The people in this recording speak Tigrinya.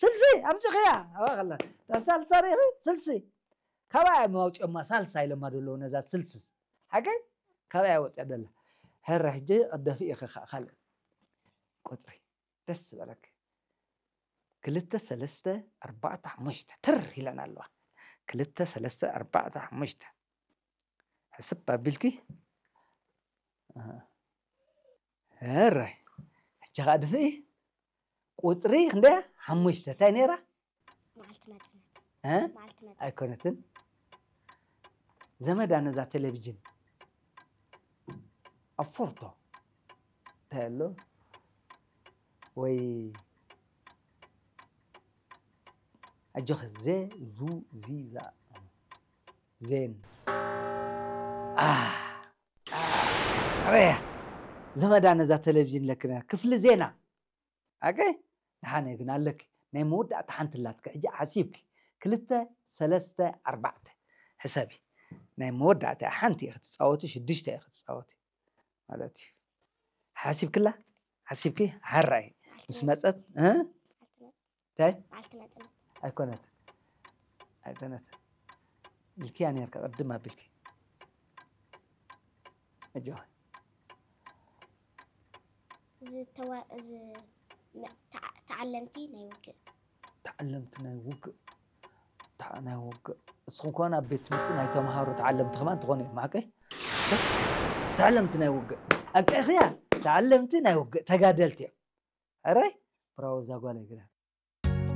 ስልሲ ኣምፅኽያ ኣባኸላ ሳልሳ ርኢኺ ስልሲ ካባያ መውፅኦማ ሳልሳ ኢሎማ ዘለዉ ነዛ ስልስስ ሓቀይ ካባያ ወፅያ ደላ ሕረ ሕጂ ቅደፊ ኢኺ ካልእ ቁፅሪ ደስ ዝበለክ ክልተ ሰለስተ ኣርባዕተ ሓሙሽተ ትር ኢለን ኣለዋ ክልተ ሰለስተ ኣርባዕተ ሓሙሽተ ሕስብ ኣቢልኪ ሕራይ ሕጂ ከዓ ድፍኢ ቁፅሪ ክንደያ ሓሙሽተ እንታይ ነይራ መዓልቲ ናፅነት እ? መዓልቲ ናፅነት ኣይኮነትን ዘመዳ ነዛ ቴሌቪዥን ኣብ ፎርቶ እንታይ ኣሎ ወይ ኣጆኸ ዜ ዙ ዚ ዛ ዜን ኣረያ ዘመዳ ነዛ ቴሌቪዥን ለክና ክፍሊ ዜና ኣገ ንሓነ ግን ኣለኪ ናይ መወዳእታ ሓንቲ ላትኪ ሕጂ ሓሲብኪ ክልተ ሰለስተ ኣርባዕተ ሕሰቢ ናይ መወዳእታ ሓንቲ ክትፃወቲ ሽዱሽተ ክትፃወቲ ማለት እዩ ሓሲብክላ ሓሲብኪ ሓራይ ምስ መፀት እንታይ መዓልቲ ናፅነት ኣይኮነት ኣይኮነት ኢልክያ ነርካ ቅድም ኣቢልኪ እጆ ዝተዋ- ዝ- ነ- ተዓ- ተዓለምቲ ናይ ውግእ ተዓለምቲ ናይ ውግእ ተዓ- ናይ ውግእ እስኹም ከሆን ኣብ ቤት ትምህርቲ ናይ ተምሃሮ ተዓለምቲ ከማን ትኾኑ እዮም ማቀ ተዓለምቲ ናይ ውግእ ኣብቂዕኽያ ተዓለምቲ ናይ ውግእ ተጋደልቲ እዮም ሕራይ ብራዎ እዛ ጓል ግዳ